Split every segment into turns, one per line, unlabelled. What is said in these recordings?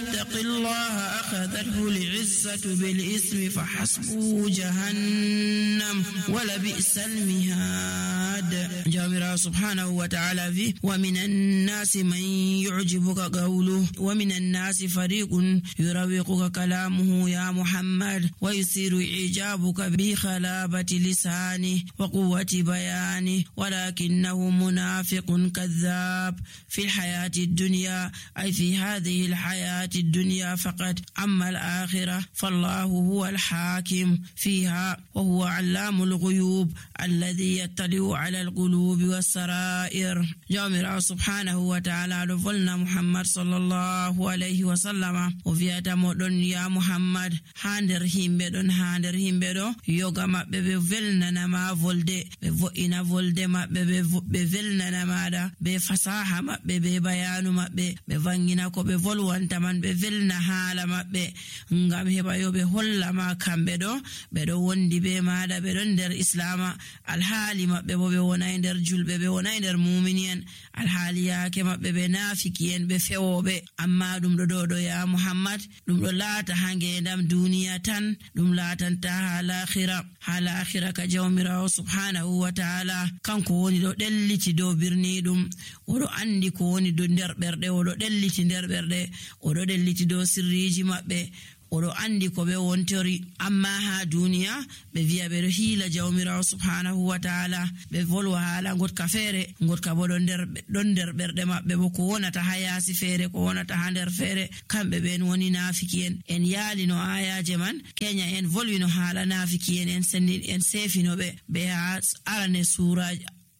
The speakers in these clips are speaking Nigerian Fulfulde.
يتق الله أخذته العزة بالإثم فحسبه جهنم ولبئس المهاد. جامرا سبحانه وتعالى في ومن الناس من يعجبك قوله ومن الناس فريق يروقك كلامه يا محمد ويثير إعجابك بخلابة لسانه وقوة بيانه ولكنه منافق كذاب في الحياة الدنيا أي في هذه الحياة الدنيا فقط. أما الآخرة فالله هو الحاكم فيها وهو علام الغيوب الذي يطلع على القلوب والسرائر. جامرا سبحانه وتعالى لفلنا محمد صلى الله عليه وسلم وفياتا مدن يا محمد هاندر هيمبدون يوغا مابbe be velnana ma volde be vo'ina volde mabbe be velnana mada be fasaha mabbe be bayanu mabbe be vangina ko be volwanta man be velna hala mabbe ngam heba yo be holla ma kambe do be do wondi be mada be don der islama alhali mabbe bo be wona der julbe be wona der mu'minin alhali yake mabbe be nafikiyen be fewobe. Amma dum do ya Muhammad dum do laata hange ndam duniya tan dum laatanta hala akhira ka jawmirawo subhanahu wa ta'ala kanko woni do delliti do birni dum odo andi ko woni do der berde odo delliti der berde odo delliti do sirriji mabbe odo andi ko be wontori. Amma ha duniya be viya be hila jawmirawo subhanahu wa ta'ala be volwa hala ngot ka fere ngot ka bodon der berde mabbe bo ko wonata hayasi fere ko wonata hander fere kambe ben woni nafikiyen en yali no ayaje man kenya en volwino hala nafikiyen en sendi en sefino be ha arane sura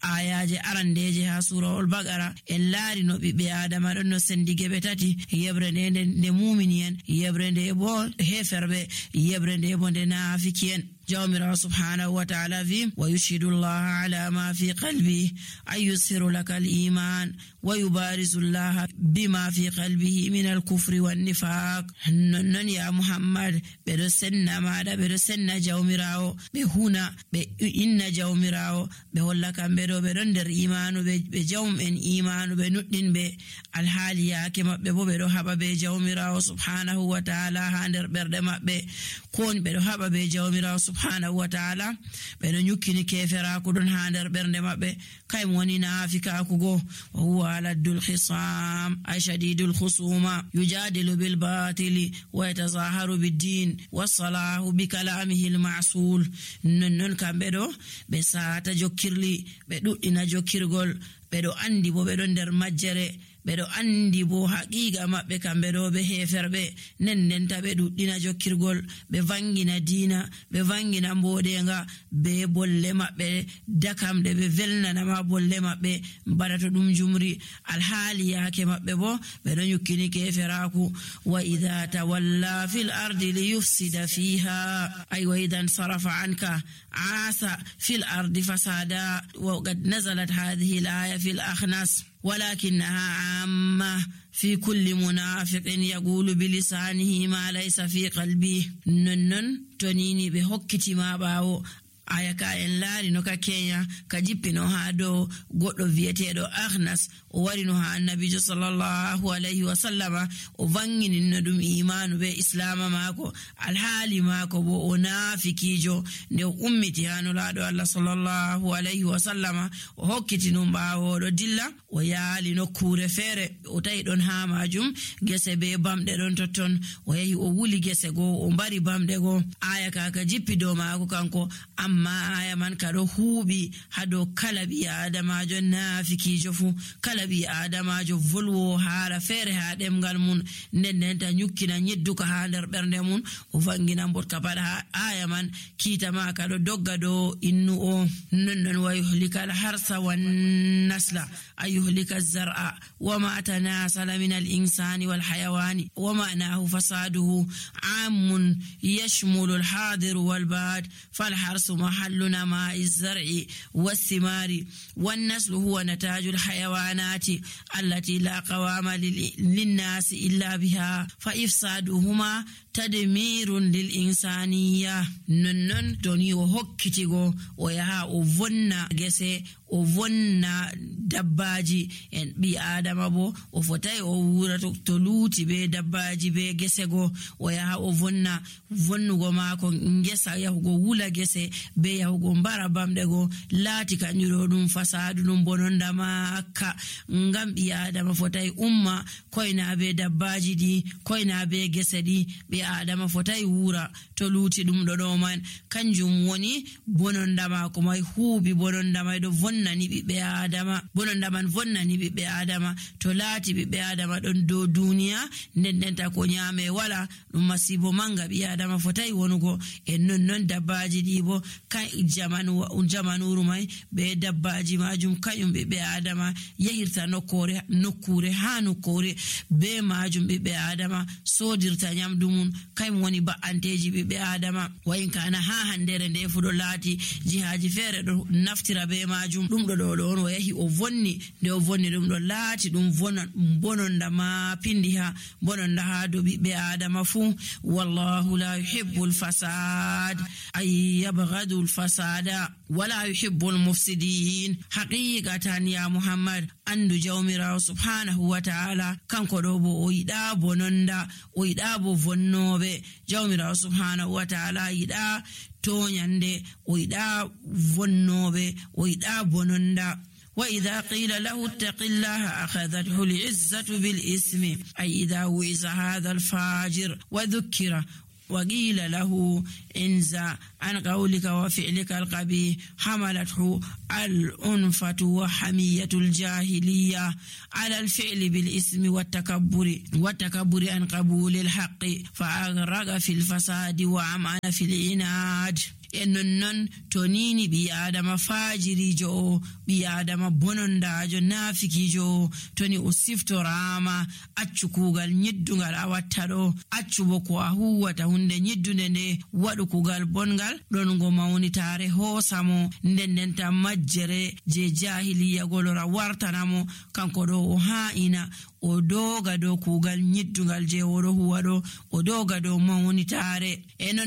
ayaje arandeje ha surahul baqara en laari no bibbe adama don no sendige be tati yebrende ne mu'miniyen yebrende bo heferbe yebrende bo de nafikiyen. جامرا سبحانه وتعالى في ويشهد الله على ما في قلبه أي يسر لك الإيمان ويبارز الله بما في قلبه من الكفر والنفاق. نن يا محمد برسنا ماذا برسنا جامراو بهنا بإن جامراو بهلا كم برندر إيمان بجوم إن إيمان بنودن بالحالية كما ببرو هبا بجامراو سبحانه وتعالى هندر بردما بكون برو هبا بجامراو سبحانه وتعالى بين يكني كفرا كدون هاندر برنده مابbe kay woni nafika kugo وهو على الخصام أي شديد الخصومة يجادل بالباطل ويتظاهر بالدين والصلاح بكلامه المعسول نن كامبدو بساتا جوكيرلي بدو ina jokirgol bedo andi bo bedo der majjere bedo andi bo haqiqa mabbe kambe do be heferbe nennen tabe duddina jokkirgol be vangina dina be vangina mbodenga be bolle mabbe dakamde be velnana ma bolle mabbe barato dum jumri alhali yake mabbe bo bedo nyukini keferaku wa idha tawalla fil ardi liyufsida fiha ay wa idan sarafa anka asa fil ardi fasada wa qad nazalat hadhihi al-aya fil akhnas ولكنها عامة في كل منافق يقول بلسانه ما ليس في قلبه. ننن تنيني بحكتي ما باو ayaka en laari no ka Kenya ka jippino ha do goddo vietedo Akhnas o wari no ha annabi sallallahu alaihi wasallam o vangini no dum imanu be islama mako alhali mako bo o nafikijo ne ummiti hanu laado Allah sallallahu alaihi wasallam o hokkiti no baawo do dilla o yaali no kure fere o tay don ha majum gese be bamde don totton o yahi o wuli gese go o mbari bamde go ayaka ka jippi do mako kanko amma aya man kado hubi hado kalabi adamajo nafikijo fu kalabi adamajo volwo haala fere ha demgal mun nennen ta nyukkina nyedduka ha der bernde mun o vangina mbotka pada aya man kita ma kado dogga do innu o nonnon wa yuhlika al harsa wan nasla ayuhlika az-zar'a wama tanasala min al-insani wal hayawani wama nahu fasaduhu amun yashmulu al-hadir wal bad fal harsu محل نماء الزرع والثمار والنسل هو نتاج الحيوانات الظلمات التي لا قوام للناس إلا بها فإفسادهما تدمير للإنسانية ننن توني وهكتيغو ويها وفنا جسي وفنا دباجي en bi adama bo o fotai o wura to luti be dabbaji be gese go o yaha o vonnugo maako ngesa yahugo wula gese be yahugo mbara bamde go laati kanjuro dum fasadu dum bononda makka ngam bi adama fotai umma koina be dabbaji di koina be gese di bi adama fotai wura to luti dum do man kanjum woni bononda maako mai huubi bononda mai do vonnani bi adama bononda man vonnani bi adama to laati bi adama don do duniya ndendenta ko nyame wala dum masibo manga bi adama fotai wonugo en non dabbaji dibo kan jamanu rumai be dabbaji majum kayum be adama yahirta nokure hanu kore be majum be adama sodirta nyamdumun kay woni ba anteji be adama wayin kana ha handere nde fudo laati jihaji fere do naftira be majum dum do on yahi o vonni de o vonni dum do laati dum bononda ma pindiha bononda ha do be adama fu wallahu la yuhibbul fasad ay yabghadul fasada wala yuhibbul mufsidin haqiqatan ya muhammad andu jawmira subhanahu wa ta'ala kanko do bo o yida bononda o yida bo vonnobe jawmira subhanahu wa ta'ala yida tonyande o yida vonnobe o yida bononda وإذا قيل له اتق الله أخذته العزة بالإثم أي إذا وعظ هذا الفاجر وذكر وقيل له انزع عن قولك وفعلك القبيح حملته الأنفة وحمية الجاهلية على الفعل بالإثم والتكبر عن قبول الحق فأغرق في الفساد وعمعن في العناد ennon tonini bi adama fajirijo bi adama bonondajo nafikijo toni o siftorama accu kugal nyiddungal awattado accu boko a huwata hunde nyiddunde ne wadu kugal bongal don go mawnitare hosamo ndendenta majjere je jahiliya golora wartanamo kanko do o haina o doga do kugal nyiddungal je woro huwado o doga do mawnitare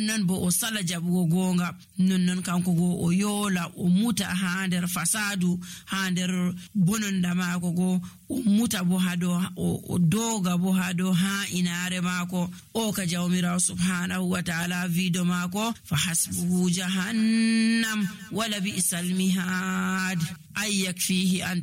non bo o sala jabugo gonga non kanko go o yola o muta ha der fasadu ha der bononda mako go o muta bo hado o doga bo hado ha inare mako o ka jawmira subhanahu wa ta'ala vido mako fa hasbuhu jahannam wala bi'sal mihad ay yakfihi an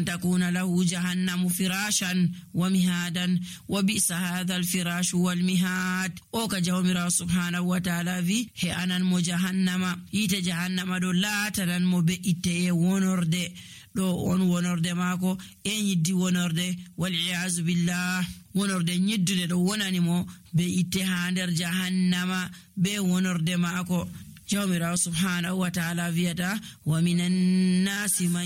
takuna lahu jahannam firashan wa mihadan wa bi'sa hadha al firash wal mihad o ka jawmira subhanahu wa ta'ala vi he anan mo jahannama ite jahannama do latanan mo be ite wonorde do on wonorde mako e nyiddi wonorde wal iyaz billah wonorde nyiddude do wonani mo be ite ha der jahannama be wonorde mako jawmira subhanahu wa ta'ala viyata wa minan nasi man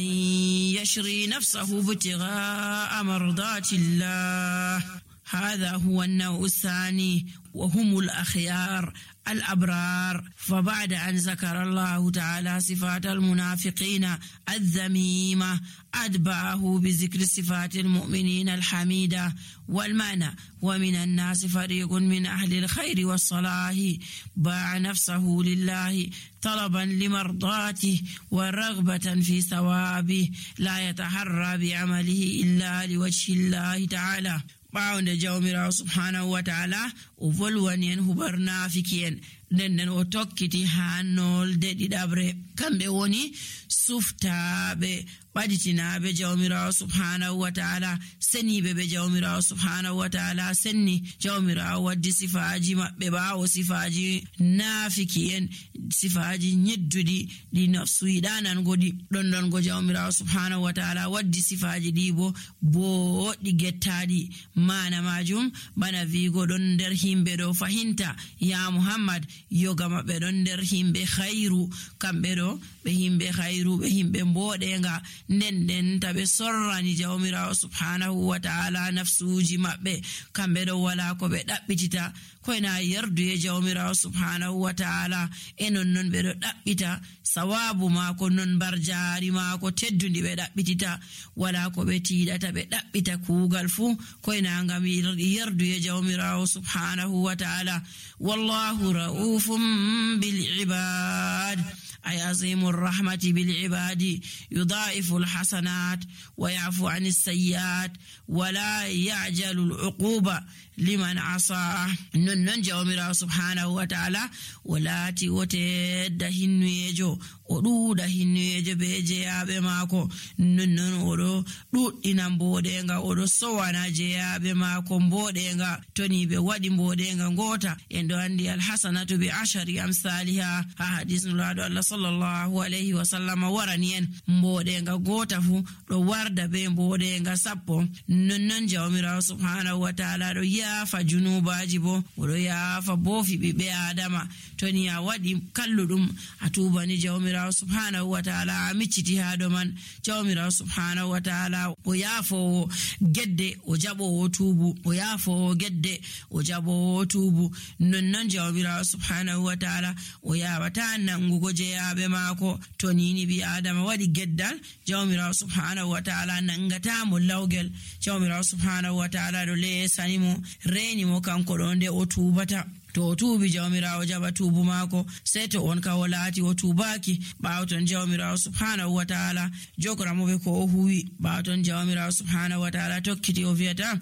yashri nafsahu ibtigha'a mardatillah هذا هو النوع الثاني وهم الأخيار الأبرار فبعد أن ذكر الله تعالى صفات المنافقين الذميمة أتبعه بذكر صفات المؤمنين الحميدة والمعنى ومن الناس فريق من أهل الخير والصلاح باع نفسه لله طلبا لمرضاته ورغبة في ثوابه لا يتحرى بعمله إلا لوجه الله تعالى باونde jawmira subhanahu wa ta'ala o volwani en hubarna fikien den o tokkiti hanol de didabre kambe woni suftabe baditinabe jawmira subhanahu wa ta'ala senibe be jawmira subhanahu wa ta'ala senni jawmira waddi sifaji mabbe bawo sifaji nafikien sifaji nyeddudi di nafsu idanan godi don go jawmira subhanahu wa ta'ala waddi sifaji dibo bo di gettadi mana majum bana vigo don der himbe do fahinta ya muhammad yoga maɓɓe ɗon nder himɓe khairu, kamɓe ɗo ɓe himɓe khairu, ɓe himɓe mboɗenga, nden taɓe sorrani jawmirawo subhanahu wa ta'ala nafsuji maɓɓe, kamɓe ɗo wala ko ɓe ɗaɓɓitita koyna yarduye jawmirawo subhanahu wa ta'ala, e non ɓe ɗo ɗaɓɓita sawabu maako, non bar jaari maako teddudi ɓe ɗaɓɓitita, wala ko ɓe tiiɗata ɓe ɗaɓɓita kuugal fuu koyna ngam yarduye jawmirawo subhanahu wa ta'ala. Wallahu ra'ufum bil ibad ay azimur rahmati bil ibadi yudaifu al hasanat wa ya'fu anis sayyiat wa la ya'jalu al uquba liman asa. non jawmirawo subhanahu wa ta'ala walati wote da hinnuyejo o ɗuuɗa hinnuyejo be jeyaɓe maako, non oɗo ɗuɗɗina mboɗenga, oɗo sowana jeyaɓe maako mboɗenga. toni ɓe waɗi mboɗenga ngota en ɗo andi alhasanatu bi ashari amsaliha, ha hadis nulaɗo Allah sallallahu alayhi wa sallam warani en mboɗenga gota fu ɗo warda be mboɗenga 10. non jawmirawo subhanahu wa ta'ala ɗo yaafa junubaji bo, oɗo yaafa bofi ɓiɓɓe adama. toni a waɗi kalluɗum a tubani jawmirawo subhanahu wa ta'ala a micciti ha ɗo man, jawmirawo subhanahu wa ta'ala o yaafowo gedde o jaɓowo tuubu, o yaafowo gedde o jaɓowo tuubu. non jawmirawo subhanahu wa ta'ala o yawata nangugo jeyaɓe maako. to nini ɓi adama waɗi geddal, jawmirawo subhanahu wa ta'ala nangatamo lawgel, jawmirawo subhanahu wa ta'ala ɗo lesanimo, renimo kanko ɗo nde o tubata. to o tuubi jawmirawo jaɓa tuubu maako, sey to on ka o laati o tuubaki, ɓaawton jawmirawo subhanahu wa ta'ala jogoramoɓe ko o huwi, ɓaawton jawmirawo subhanahu wa ta'ala tokkiti o wiyata